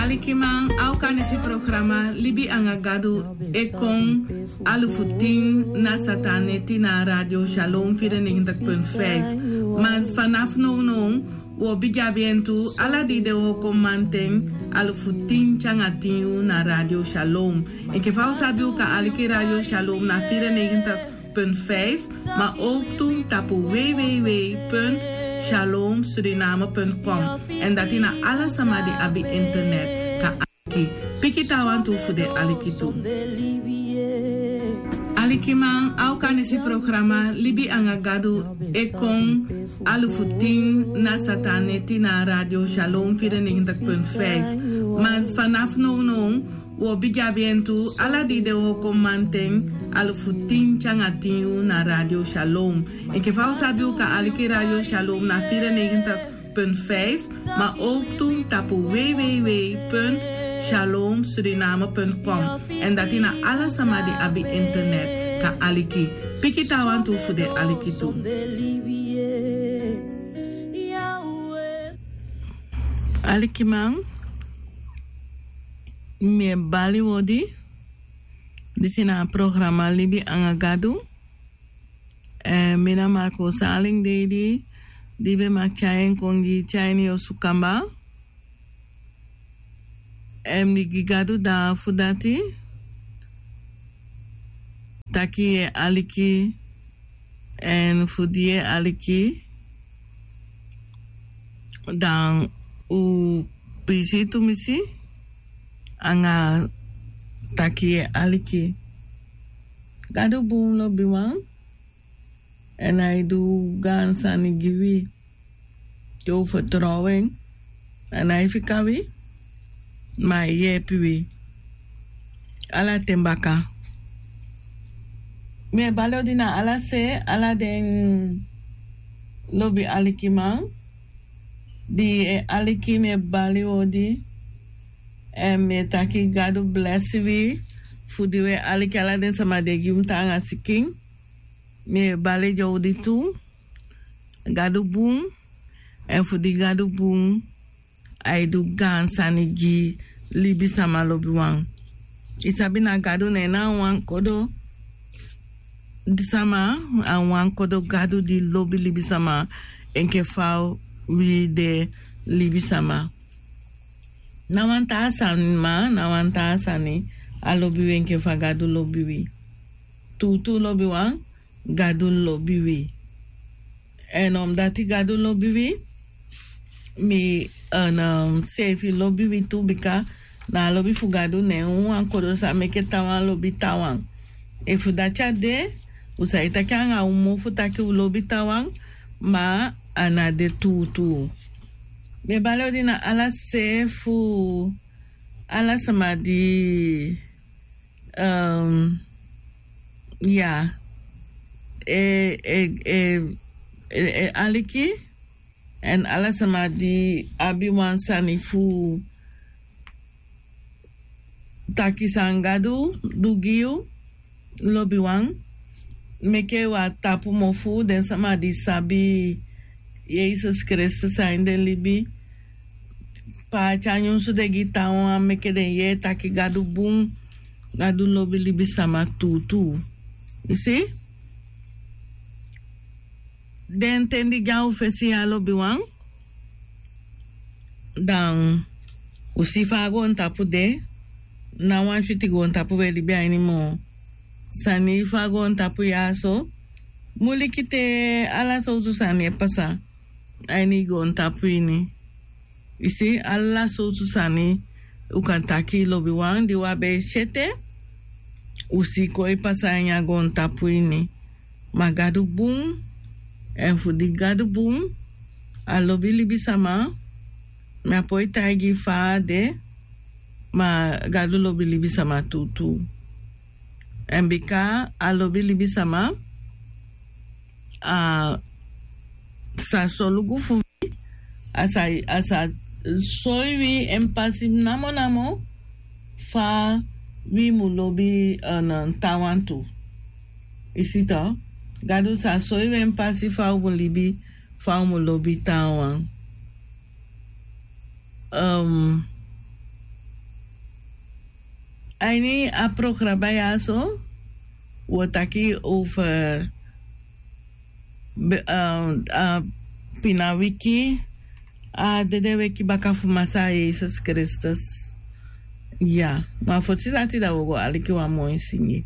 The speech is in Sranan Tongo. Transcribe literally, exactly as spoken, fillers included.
Alikiman, a o kan disi programa Libi anga Gadu e kon alufu tin na sata neti na Radio Shalom vierennegentig punt vijf. Ma vanaf nownow, wi o bigin abi en tu ala dei den wokomanten alufu tin te anga tin yuu na Radio Shalom. Enke fa u sabi, u kan aliki Radio Shalom na vierennegentig punt vijf, ma ook tu tapu www punt shalom suriname punt com. En dati na ala sama di abi internet kan aliki. Piki taawan tu fu den aliki tu. Alikiman, a o kan disi programa Libi anga Gadu e kon alufu tin na sata neti na Radio Shalom vierennegentig punt vijf. Ma vanaf nownow, wi o bigin abi en tu ala dei den wokomanten alufu tin te anga tin yuu na Radio Shalom. Enke fa u sabi, u kan aliki Radio Shalom na vierennegentig punt vijf, ma ook tu tapu www punt shalom suriname punt com. En dati na ala sama di abi internet kan aliki. Piki taawan tu fu den aliki tu. Alikiman, mi e bali odi. Disi na a programa Libi anga Gadu. Eh, mi na Marco Saling Deidi, di ben maki tyai en kon gi i te a ini yu osu kamba. Eh, mi gi Gadu dati fu dati. Taki yu e aliki, en fu di yu e aliki, dan u prisi tumisi anga taki yu e aliki. Gadu bun, lobiwan, en ai du gaan sani gi wi. Te u fertrow en, a nái fika wi, ma a e yeepi wi ala ten baka. Mi e bali odi na ala se, ala den lobi alikiman di e aliki, mi e bali odi. En mi e taki Gadu blesi wi fu di wi e aliki, ala den sama di e gi mi tan anga sikin. Mi e bali odi tu. Gadu bun, en fu di Gadu bun, ai du gaan sani gi libisama, lobiwan. I sabi, na Gadu, ne na wan kodo sama, a wan kodo Gadu di lobi libisama enke fa wi de libisama. Na wan taa sani, ma na wan taa sani, a lobi wi enke fa Gadu lobi wi. Tuutuu, lobiwan, Gadu lobi wi. En omdati Gadu lobi wi, mi, en, um, seefi lobi wi tu, bika na a lobi fu Gadu, ne wan kodo sa meke taawan lobi taawan. Efu dati á de, u sa e taki anga u mofu taki u lobi taawan, ma a ná de tuutuu. Mi e bali odi na ala se fu ala sama di, um, ya, e, e, e, e, e aliki, en ala sama di abi wan sani fu taki san Gadu du gi yu, lobiwan, meke wi á tapu mofu. Den sama di sabi Yesus Kristus a ini den libi, paati a nyunsu de gi taawan, meke den yee taki Gadu bun, Gadu lobi libisama tuutuu. I si? Den ten di de a u fesi ya, lobiwan, dan u si fa a goontapu de. Ná wan switi goontapu wi e libi a ini moo. Sani fu a goontapu ya so, muliki te, ala sowtu sani e pasa a ini goontapu ini. I si, ala sowtu sani, u kan taki, lobiwan, di wi á be e si ete, u si kon e pasa a ini a goontapu ini. Ma Gadu bun, en fu di Gadu bun, a lobi libisama. Mi á poi taigi fa a de, ma Gadu lobi libisama tuutuu. En bika a lobi libisama, a sa solugu fu wi, a sa, a sa soi wi en pasi namonamo fa wi mu lobi, eh, na taawan tu. I si to, Gadu sa soi wi en pasi fa u mu libi, fa u mu lobi taawan. Ehm, A ini a programa ya so wi o taki over be- a a pina wiki, a dede wiki baka fu Masaa Yesus Kristus. Ya, ma fu sidati dan wi o go aliki wan moi singi.